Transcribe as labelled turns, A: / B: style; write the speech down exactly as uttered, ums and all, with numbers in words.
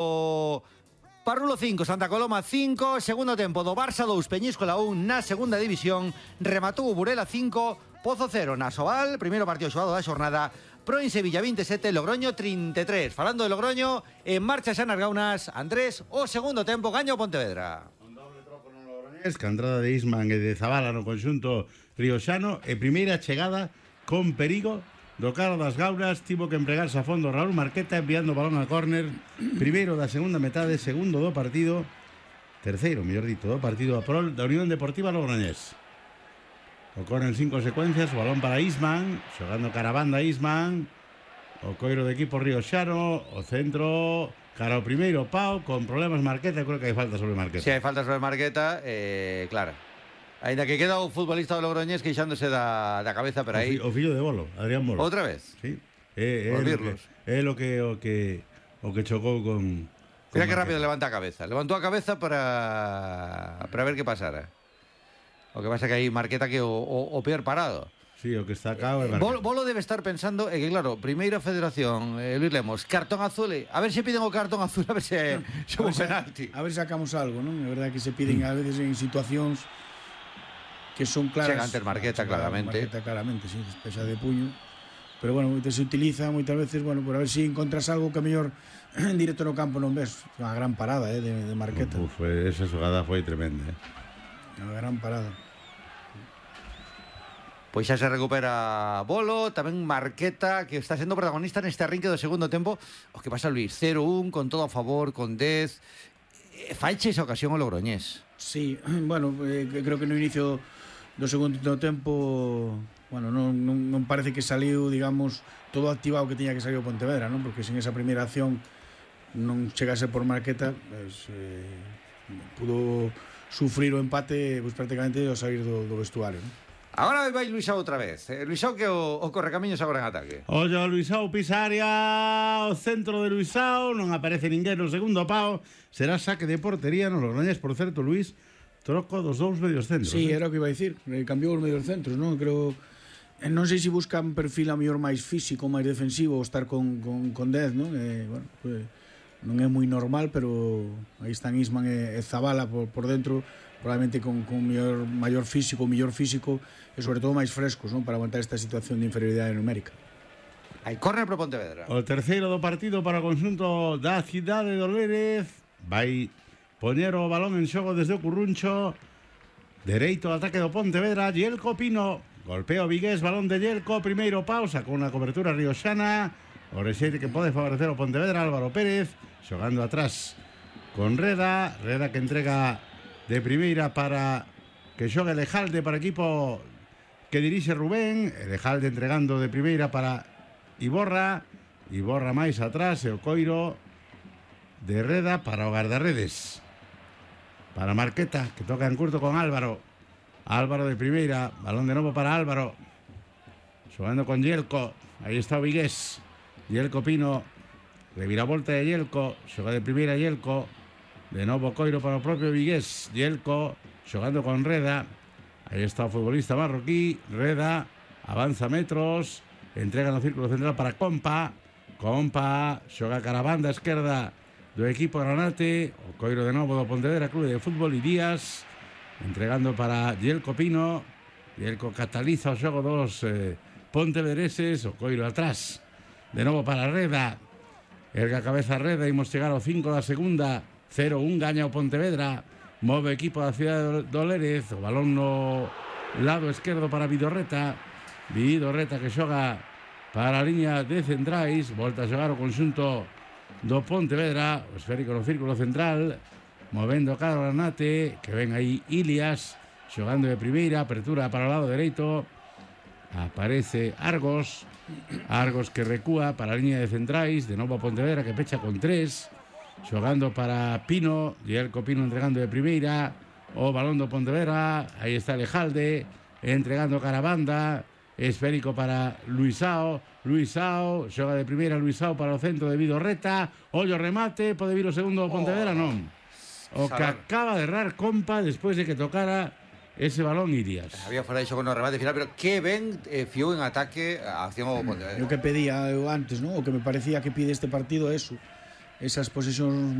A: o Parrulo cinco, Santa Coloma cinco, segundo tempo do Barça dous, Peñíscola un na segunda división, rematou o Burela cinco, Pozo cero na Sobal, primeiro partido xogado da xornada, Proin Sevilla veintisiete, Logroño trinta e tres. Falando de Logroño, en marcha xa nas gaunas, Andrés, o segundo tempo gaña o Pontevedra.
B: Un doble troco no Logroñés, que a entrada de Isman e de Zabala no conxunto rioxano, e primeira chegada con perigo do cara das gaunas, tivo que empregarse a fondo Raúl Marqueta enviando o balón a córner, primeiro da segunda metade, segundo do partido, terceiro, mellor dito, do partido a prol da Unión Deportiva Logroñés. O córner en cinco secuencias, o balón para Isman, xogando cara a banda Isman, o coiro de equipo rioxano, o centro cara ao primeiro Pau, con problemas Marqueta, creo que hai falta sobre Marqueta.
A: Si sí, hai falta sobre Marqueta, eh, claro. Ainda que queda o futbolista do Logroñés queixándose da, da cabeza, pero aí...
B: O, fi, o fillo de Bolo, Adrián Bolo.
A: Outra vez?
B: Sí. É, é, o que, é o que o que o que chocou con... con
A: Mira que rápido levanta a cabeza. Levantou a cabeza para para ver que pasara. O que pasa que aí Marqueta que o, o, o peor parado.
B: Sí, o que está acá é Marqueta.
A: Bolo, Bolo debe estar pensando é que, claro, primeira federación, eh, Luis Lemos, cartón azul, a ver se piden o cartón azul, a ver se é un penalti.
C: A ver se sacamos algo, non? É verdade que se piden a veces en situacións que son claras.
A: Chega antes Marqueta, claramente.
C: Marqueta, claramente, sí, despexa de puño. Pero bueno, se utiliza moitas veces, bueno, por a ver se si encontras algo que a mellor en directo no campo non ves. Unha gran parada, eh, de, de Marqueta.
B: Uf, esa xogada foi tremenda, eh.
C: Unha gran parada.
A: Pois xa se recupera Bolo, tamén Marqueta, que está sendo protagonista neste arrinque do segundo tempo. O que pasa, Luis, cero un, con todo a favor, con dez. Faiche esa ocasión o Logroñés.
C: Sí, bueno, eh, creo que no inicio do segundo tempo, bueno, non, non, non parece que saliu, digamos, todo activado que tiña que salir o Pontevedra, non? Porque sin esa primeira acción non chegase por Marqueta, pues, eh, pudo sufrir o empate pues, prácticamente ao salir do, do vestuario, non?
A: Agora vai Luisao outra vez. Eh, Luisao que o, o correcamiños agora en ataque.
B: Ollo, Luisao pisa área, o centro de Luisao, non aparece ninguén no segundo pao, será saque de portería no Logroñés, por certo, Luis, troco dos dous medios centros.
C: Sí,
B: eh?
C: era o que iba a dicir, cambiou os medios centros, non? Creo, non sei se busca un perfil a mellor máis físico, máis defensivo, ou estar con, con, con dez, non? Eh, bueno, pues, non é moi normal, pero aí están Isman e, e Zabala por, por dentro, probablemente con, con mellor, maior físico, mellor físico e sobre todo máis frescos, non? Para aguantar esta situación de inferioridade numérica.
A: Hai córner pro Pontevedra.
B: O terceiro do partido para o conxunto da cidade de Olérez. Vai poñer o balón en xogo desde o Curruncho. Dereito ao ataque do Pontevedra. Yelko Pino. Golpeo Vigués, balón de Yelko. Primeiro pausa con unha cobertura rioxana. O rexeite que pode favorecer o Pontevedra. Álvaro Pérez xogando atrás con Reda. Reda que entrega de primeira para que xogue Lejalde para equipo que dirixe Rubén. Lejalde entregando de primeira para Iborra. Iborra máis atrás e o coiro de Reda para o guardarredes. Para Marqueta, que toca en curto con Álvaro. Álvaro de primeira, balón de novo para Álvaro. Xogando con Yelko. Aí está o Vigués. Yelko Pino. Reviravolta de Yelko. Xoga de primeira Yelko. De novo coiro para o propio Vigués. Yelko xogando con Reda. Aí está o futbolista marroquí. Reda avanza metros. Entrega no círculo central para Compa. Compa xoga cara a banda esquerda do equipo Granate. O coiro de novo do Pontevedra Clube de Fútbol e Díaz. Entregando para Yelko Pino. Yelko cataliza o xogo dos eh, pontevedreses. O coiro atrás. De novo para Reda. Erga cabeza Reda. Imos chegar ao cinco da segunda. cero un gaña o Pontevedra. Move equipo da cidade de Olérez. O balón no lado esquerdo para Vidorreta. Vidorreta que xoga para a liña de centrais. Volta a xogar o conxunto do Pontevedra. O esférico no círculo central. Movendo cara ao Granate. Que ven aí Ilias. Xogando de primeira. Apertura para o lado dereito. Aparece Argos. Argos que recúa para a liña de centrais. De novo a Pontevedra que pecha con tres. Xogando para Pino. Yelko Pino entregando de primeira. O balón do Pontevedra. Aí está Lejalde. Entregando cara a banda. Esférico para Luisao. Luisao. Xoga de primeira Luisao para o centro de Vidorreta. Ollo remate. Pode vir o segundo do Pontevedra? Non. O que acaba de errar Compa despois de que tocara ese balón Irias.
A: Había fora de xogo no remate final, pero que ben eh, fiou en ataque a acción ao Pontevedra.
C: O que pedía eu antes, ¿no? O que me parecía que pide este partido é eso. esas posesións